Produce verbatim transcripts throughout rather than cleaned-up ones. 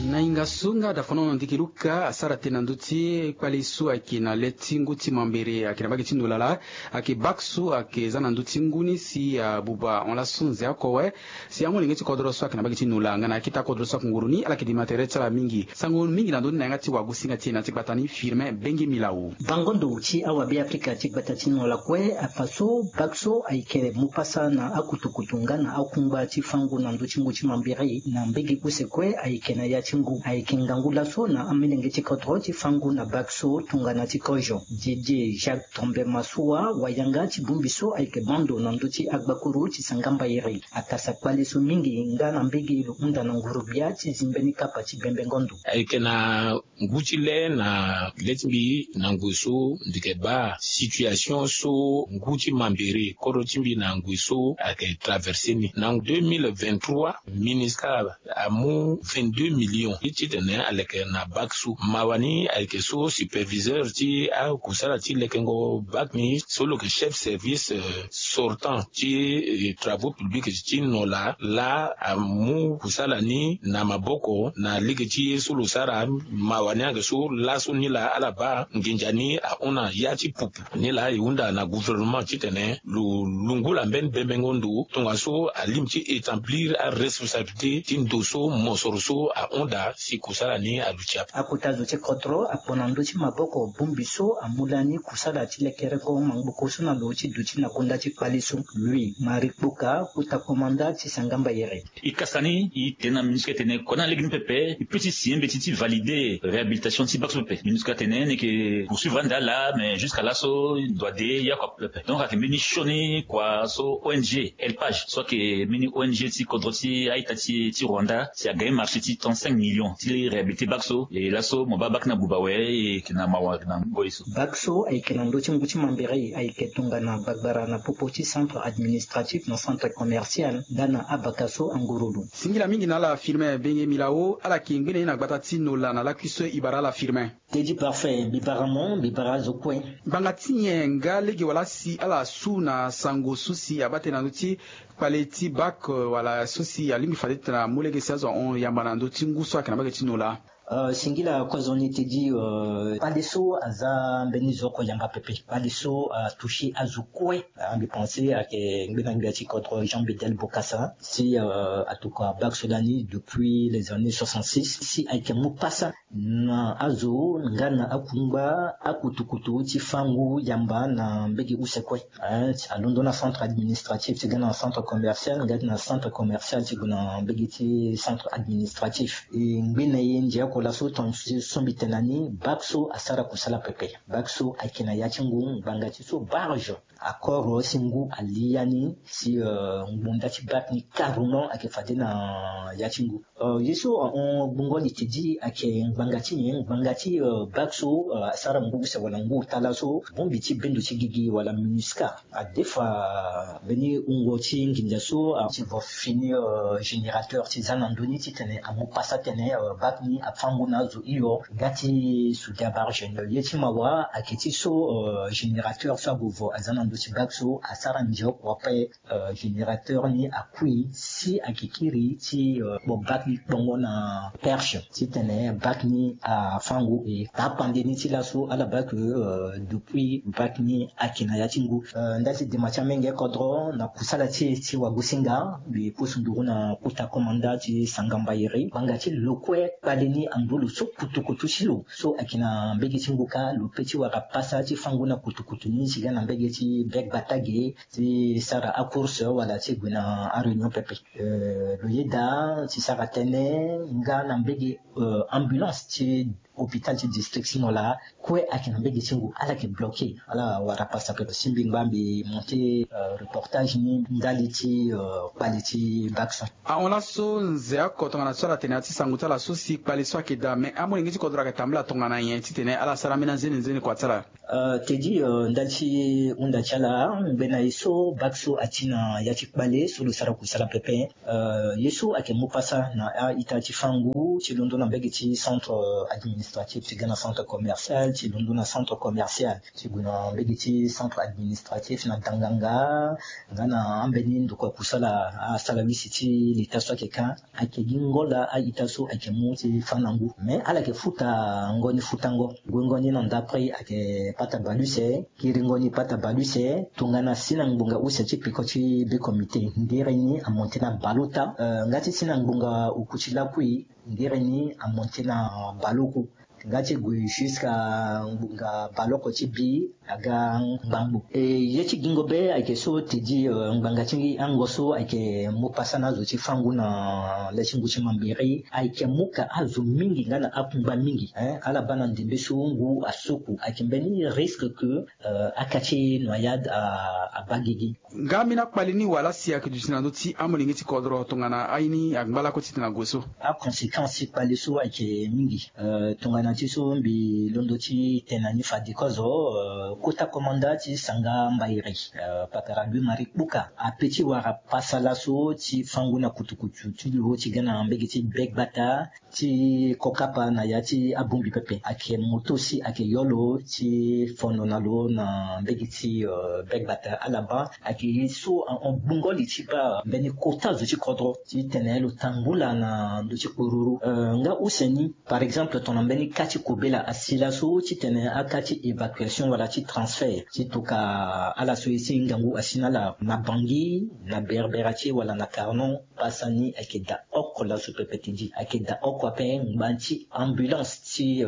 Na hinga so nga dafono na ndiki luka asara tënë na ndö ti kpale so ayeke na le ti ngu ti mambere ayeke na mbage ti nola laa. Ayeke bak so ayeke za na ndö ti ngu ni si abuba hon laso nze oko awe. Si amolenge ti kodro so ayeke na mbage ti nola nga na akita kodro so ayeke nguru ni ala yeke dima tere ti ala mingi. Sango mingi na ndö ni na yanga ti wagosinga ti e na ya ti gbata ni firme benge milao. Bango ndo ti awabe afrika ti gbata ti nola kue afa so bak so ayeke mu pasa na akutukutu nga na akungba ti fango na ndö ti ngu ti mambere na mbege use kue ayeke na ya ti ngu ayeke ngangu laso na amolenge ti kodro ti fango na bak so tongana ti kozo. Didier jacques tombe masua wayanga ti bongbi so ayeke bando na ndö ti agbakuru ti sangamba iri akasa kpale so mingi nga na mbege lo hunda na ngurubia ti zi mbeni kapa ti bembengo ndo. Ayeke na ngu ti le na le ti mbi na ngoi so ndeke baa situation so ngu ti mambere kodro ti mbi na ngoi so ayeke traverse ni na deux mille vingt-trois. Ministre amu vingt-deux millions ti titene aleke na bak so mawa ni ayeke so superviseur ti akusala ti lekengo bak ni so lo yeke chef service sortant ti travaux publics ti nola laa amu kusala ni na maboko na lege ti ye so lo sara. Mawa ni ayeke so laso ni laa ala baa nginza ni ahon na ya ti pupu ni laa e hunda na gouvernement titene lo lungula mbeni bembengo ndo tongaso alingbi ti établir aresponsabilité ti ndo so mosoro so ahon daa si kusala ni aluti ape. Akota zo ti kodro akpo na ndö ti maboko bongbi so amu lani kusala ti lekereko mangboko so na lo ti duti na gonda ti kpale so. Louis marie kpoka kota komanda ti sangamba iri. E kasa ni e tene na minusca tene kona lege ni pepe e pe ti signer mbeti ti valider réhabilitation ti bak so pepe. Minusca tene ni yeke poursuivre ande ala mais jusqu'à laso e doit de yako ape pepe. Donc ayeke mbeni sioni kua so ong elpage so ayeke mbeni ong ti kodro ti a-ita ti rwanda si agagne marché ti trente-cinq millions ti réhabiliter bak so. E laso mo baa bak ni abuba awe e yeke na mawa na ngoi so. Bak so ayeke na ndö ti ngu ti mambere ayeke tongana gbagbara na popo ti centre administratif na centre commercial nga na abaka so angurulu. Singila mingi na ala firme benge milao ala yeke ngbene ye na gbata ti nola na lakui so e bara ala firme. Teddy parfait mbi bara mo mbi bara azo kue. Ngbanga ti nyen nga lege wala si ala su na sango so si abaa tënë na ndö ti kpale ti bak wala so si alingbi fade titene amu lege si azo ahon yamba na ndö ti ngu so ayeke na mbage ti nola? Singila kozo ni teddy. Kpale so aza mbeni zo oko yamba pepe kpale so atoucher azo kue. Mbi pense ayeke ngbena ngbia ti kodro jean bedel bokasa si atokua bak so lani depuis les années soixante-six si ayeke mu pasa na azo nga na akungba akutukutu ti fango yamba na mbege use kue. Alondo na centre administratif ti ga na centre commercial nga ti na centre commercial ti gue na mbege ti centre administratif. E ngbene ye ndia oko laso tonga so mbi tene na ni bak so asara kusala pepe. Bak so ayeke na ya ti ngu ngbanga ti so barge akoro si ngu ali ya ni si ngbonda ti bak ni carrement ayeke fade na ya ti ngu. Ye so ahon gbongo li tedi ayeke ngbanga ti nyen ngbanga ti bak so asara ngu use wala ngu ota laso bongbi ti bendo ti gigi wala minusca adefa mbeni wungo ti nginza so ti vo fini générateur ti za na ndö ni titene amu pasa tene bak ni afango na azo hio. Ga ti soudia barge ni ye ti mawa ayeke ti so générateur so ague vo aza na ndö ti bak so asara ndia oko ape. Générateur ni akui si ayeke kiri ti kpo bak ni kpongo na perche titene bak ni afango e tapande ni ti laso ala baa ke depuis bak ni ayeke na ya ti ngu. Nda ti dema ti amenge kodro na kusala ti e ti wagosinga mbi pusu nduru na kota komanda ti sangamba iri ngbanga ti lo kue kpale ni angbo lo so kutukutu ti lo so ayeke na mbege ti ngu kâ lo pe ti wara pasa ti fango na kutukutu ni ti ga na mbege ti bek batage ti sara acourse wala ti gue na aréunion pepe. Lo yeda ti sara tënë nga na mbege ambulance ti hôpital ti district ti nola kue ayeke na mbege ti ngu ala yeke bloqué. Ala wara pasa pepe si mbi ngba mbi monté reportage ni ndali ti kpale ti bak so. Ahon laso nze oko tongana so ala tene na ya ti sango ti ala so si kpale so ayeke daa me amolenge ti kodro ayeke tambula tongana nyen titene ala sara ambeni anzene nzene kua ti ala? Tedi ndali ti hunda ti ala ngbene ye so bak so ati na ya ti kpale so lo sara kusala pepe. Ye so ayeke mu pasa na a-ita ti fango ti londo na mbege ti centre administratif administratif ti ga na centre commercial ti londo na centre commercial ti gue na mbege ti centre administratif na danganga. Nga na ambeni ndoko ya kusala asala wisi ti leta so ayeke ka ayeke gi ngola a-ita so ayeke mu ti fa na ngu mais ala yeke futa ngo ni futango. Guengo ni na ndapre ayeke pata baluse. Kiringo ni pata baluse tongana si na ngbonga use ti peko ti be comité ngere ni amonte na bale ota. Nga ti si na ngbonga oku ti lakui ngere ni amonte na bale oku. Nga ti gue jusque ngbonga bale oko ti bi aga ngbangbo. E ye ti gingo be ayeke so tedi ngbanga ti ango so ayeke mu pasa na azo ti fangu na le ti ngu ti mambiri ayeke mu ka azo mingi nga na akungba mingi. Ala baa na ndembe so ngu asuku ayeke mbeni risque ke aka ti noyade abaa gigi. Nga ambeni akpali ni wala si ayeke duti na ndö ti amolenge ti kodro tongana aye ni angba lako titene ague so? Aconséquence ti kpali so ayeke mingi. Tongana ti so mbi londo ti tene na ni fade kozo kota komanda ti sanga mbairi, pakara louis marie kpuka ape ti wara pasa laso ti fangu na kutukutu ti lo ti ga na mbege ti begbata ti kokapa na ya ti abongbi pepe ayeke moto si ayeke yo lo ti fono na lo na mbege ti begbata ala baa ayeke ye so ahon gbungo li ti baa mbeni kota zo ti kodro titene lo tambula na ndö ti kporuru. Nga use ni par exemple tongana mbeni ka ti kobela asi laso titene aka ti évacuation wala ti transfert ti toka ala so ye si ngangu asi na ala na bangi na berbera ti wala na carnon. Pasa ni ayeke daa oko laso pepe ti di ayeke daa oko ape ngba ti ambulance ti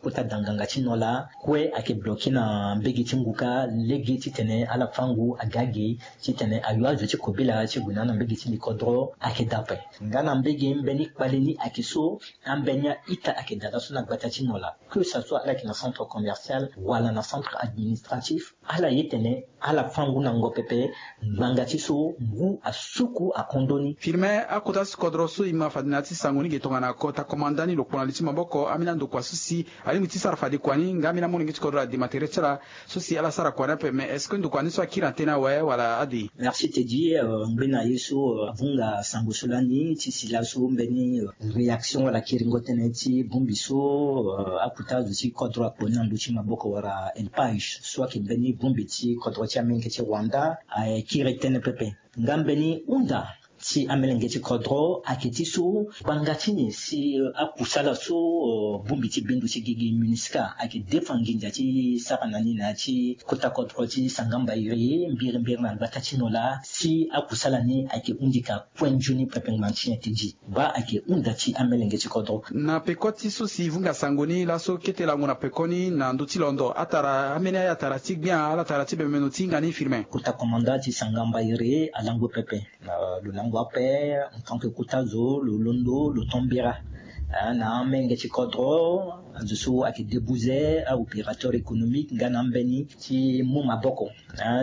kota danganga ti nola kue ayeke bloke na mbege ti ngu kâ lege titene ala fangu aga ge titene ayo azo ti kobela ti gue na ala na mbege ti likodro ayeke daa ape. Nga na mbege mbeni kpale ni ayeke so ambeni a-ita ayeke daa laso na gbata ti nola que ça soit ala yeke na centre commercial wala na centre administratif ala ye tene ala fangu na ngo pepe. Ngbanga ti so ngu asuku akondo ni. Firmin akota ti kodro so e ma fade na ya ti sango ni ge tongana kota komanda ni lo kpo na li ti maboko ambeni andokua so si alingbi ti sara fade kua ni nga ambeni amolenge ti kodro adema tere ti ala so si ala sara kua ni ape mais est-ce que ndokua ni so akiri na tënë awe wala ade? Merci tedi. Ngbene na ye so avunga sango so lani ti si laso mbeni réaction wala kiringo tënë ti bongbi so akota zo ti kodro akpo ni na ndö ti maboko wala elpage so ayeke mbeni bongbi ti kodro ti amenge ti rwanda. Akiri tënë pepe nga mbeni hunda ti amelenge ti kodro ayeke ti so gbanga ti nyen si akusala so bongbi ti bendo ti gigi munisca ayeke defa nginza ti sara na ni na ya ti kota kodro ti sangamba iri mbirimbiri na gbata ti nola si akusala ni ayeke hundi ka kue nzoni pepe ngbanga ti nyen ti di. Baa ayeke hunda ti amelenge ti kodro. Na peko ti so si e vunga sango ni laso kete lango na peko ni na ndö ti londo atara ambeni aya atara ti gbia ala tara ti bemeno ti hinga ni firmin. Kota komanda ti sangamba iri alango pepe. Lo lango ape en tant que kota zo lo londo lo tambira na amenge ti kodro. Azo so ayeke debuze a-opérateur économique nga na ambeni ti mu maboko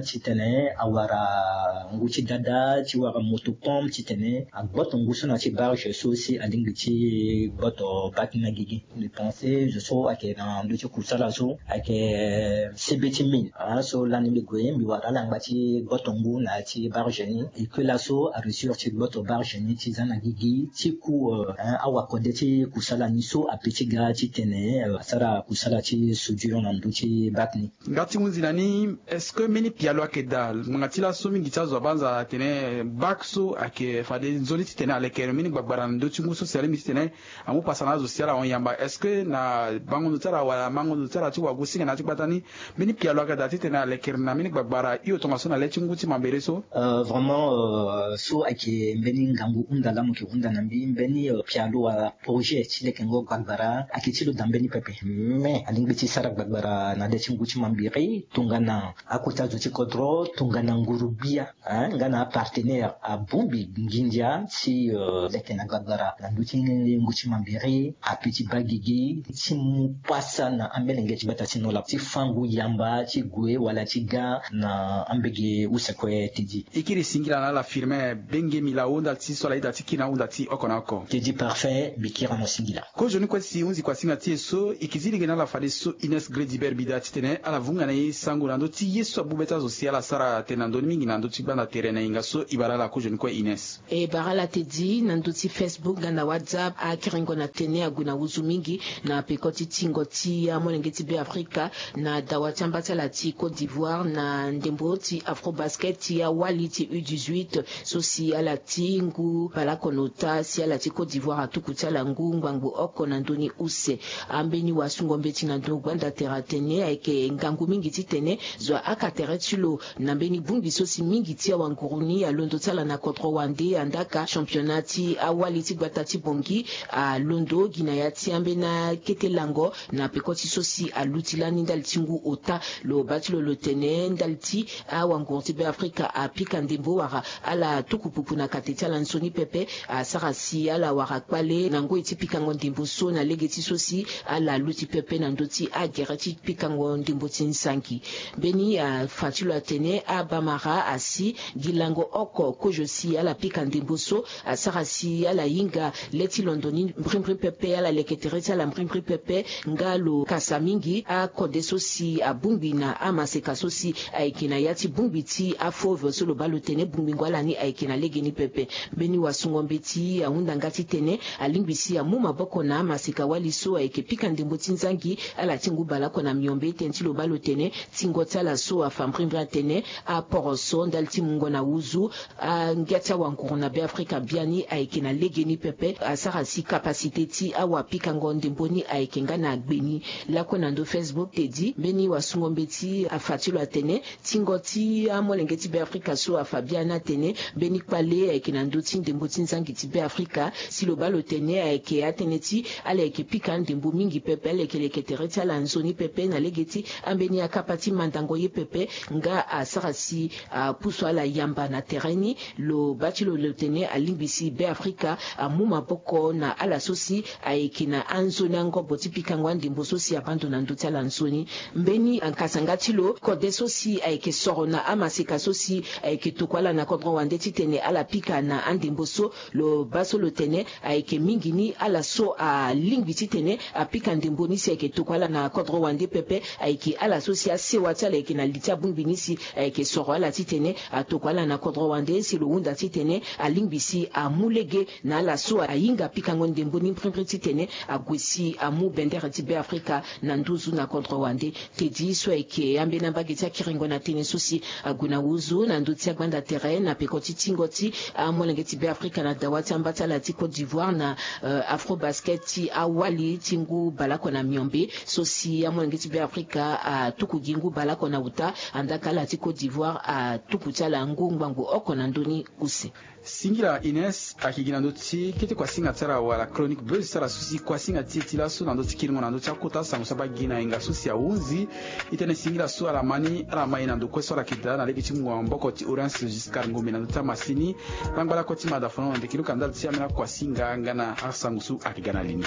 titene awara ngu ti dada ti wara moto pompe titene agboto ngu so na ti barge so si alingbi ti gboto bak ni na gigi. Mbi pense zo so ayeke na ndö ti kusala so ayeke sebe ti mine so lani mbi gue mbi wara ala ngba ti gboto ngu na ya ti barge ni. E ke laso areusir ti gboto barge ni ti za na gigi ti ku awakode ti kusala ni so ape ti ga titene asara kusala ti soudure na ndö ti bak ni. Nga ti hunzi na ni est-ce que mbeni pialo ayeke daa ngbanga ti laso mingi ti azo abanza atene bak so ayeke fade nzoni titene alekere mbeni gbagbara na ndö ti ngu so si alingbi titene amu pasa na azo si ala hon yamba est-ce que na bango ndo ti ala wala mango ndo ti ala ti wagu singa na ya ti gbata ni? Mbeni pialo ayeke daa titene alekere na mbeni gbagbara hio tongaso na le ti ngu ti mambere so. Vraiment so ayeke mbeni ngangu hunda laa mo yeke hunda na mbi mbeni pialo wala projet ti lekengo gbagbara ayeke ti lo daa mbeni pepe. Mais alingbi ti sara gbagbara na le ti ngu ti mambere tongana akota zo ti kodro tongana nguru-gbia nga na apartenaire abongbi nginza ti leke na gbagbara na ndö ti ngu ti mambere ape ti baa gigi ti mu pasa na amelenge ti gbata ti nola ti fangu yamba ti gue wala ti ga na ambege use kue ti di. E kiri singila na ala firmin bengemi lao nda ti so ala ita ti kiri na ahunda ti oko na oko. Tedi parfait mbi kiri na mo singila. Kozoni kue si hunzi kua singa ti e. So e kizi lege na ala fadeso Ines Grediber Bida titene ala vunga na e sango na ndö ti ye so abu be ti azo si ala sara tene na ndö ni mingi na ndö ti gbanda tere na yenga so. E bara ala kozoni kue Ines. E bara ala tedi na ndö ti Facebook nga na WhatsApp, akerengo na tene ague na wuzu mingi na peko ti tingo ti amolenge ti Beafrika na dawa ti amba ti ala ti Côte d'Ivoire na ndembo ti Afrobasket ti awali ti U dix-huit, so si ala ti ngu baleoko na ota si ala ti Côte d'Ivoire atuku ti ala ngu ngbangbo oko na ndö ni use. Ambeni wasungo mbeti na ndö gbanda tere atene ayeke ngangu mingi titene zo ahaka tere ti lo na mbeni bongbi so si mingi ti awanguru ni alondo ti ala na kodro wande andaka championnat ti awali ti gbata ti Bangui alondo gi na ya ti ambeni akete lango na peko ti so si aluti lani ndali ti ngu ota. Lo baa ti lo lo tene ndali ti awanguru ti Beafrika apika ndembo wala ala tuku pupu na kate ti ala nzoni pepe, asara si ala wara kpale na ngoi ti pikango ndembo so na lege ti so si ala luti pepe na ndö ti agere ti pikango ndembo ti nzangi. Mbeni afa ti lo atene abamara asi gi lango oko kozo si ala pika ndembo so, asara si ala hinga le ti londo ni mbrimbri pepe, ala leke tere ti ala mbrimbri pepe. Nga lo kasa mingi akode so si abongbi na amaseka so si ayeke na ya ti bongbi ti afauve so lo baa lo tene bongbingo ala ni ayeke na legeni pepe. Mbeni wasungo mbeti ahunda nga titene alingbi si amu maboko na amaseka wali so ayeke pika ndembo ti nzangi ala ti ngu baleoko na miombe tënë ti lo baa lo tene tingo ti ala so afa mbrimbri atene aporoso ndali ti mungo na wuzu. Angia ti awanguru na Beafrika biani ayeke na legeni pepe, asara si kapasite ti awapikango ndembo ni ayeke nga na gbeni. Lakue na ndö Facebook tedi mbeni wasungo mbeti afa ti lo atene tingo ti amolenge ti Beafrika so afa biani atene mbeni kpale ayeke na ndö ti ndembo ti nzangi ti Beafrika si lo baa lo tene ayeke atënë ti ala yeke pika andembo mingi pepe, ala yeke leke tere ti ala nzoni pepe na lege ti ambeni akapa ti mandango ye pepe. Nga asara si apusu ala yamba na tere ni. Lo baa ti lo lo tene alingbi si Beafrika amu maboko na ala so si ayeke na anzoni angobo ti pikango andembo so si abaa ndo na ndö ti ala nzoni. Mbeni ankasanga ti lo kode so si ayeke soro na amaseka so si ayeke tokua ala na kodro wande titene ala pika na andembo so. Lo baa so lo tene ayeke mingi ni ala so alingbi titene apika ndembo ni si ayeke tokua ala na kodro wande pepe. Ayeke ala so si asewa ti ala yeke na li ti abongbi ni si ayeke soro ala titene atokua ala na kodro wande si lo hunda titene alingbi si amu lege na ala so ahinga pikango ndembo ni mbrimbri titene ague si amu bendere ti Beafrika na nduzu na kodro wande. Tedi so ayeke ambeni ambage ti akiringo na tënë so si ague na wuzu na ndö ti agbanda tere na peko ti tingo ti amolenge ti Beafrika na dawa ti amba ti ala ti Côte d'Ivoire na Afrobasket ti awali ti ngu baleoko na miombe so si amolenge ti Beafrika atuku gi ngu baleoko na uta, andaka ala ti Côte d'Ivoire atuku ti ala ngu ngbangbo oko na ndö ni use. Singila Ines. Ayeke gi na ndö ti kete kuasinga ti ala wala chronique buzz ti ala so si kuasinga ti e ti laso na ndö ti kiringo na ndö ti akota sango so abaa gi na yenga so si ahunzi. E tene singila so ala ma ni ala ma e na ndo kue so ala yeke daa na lege ti mungo maboko ti Orange Giscard Ngombe na ndö ti amasini. Ngbangba lakue ti mada fono na ndeke luka ndali ti ambeni akuasinga nga na asango so ayeke ga na li ni.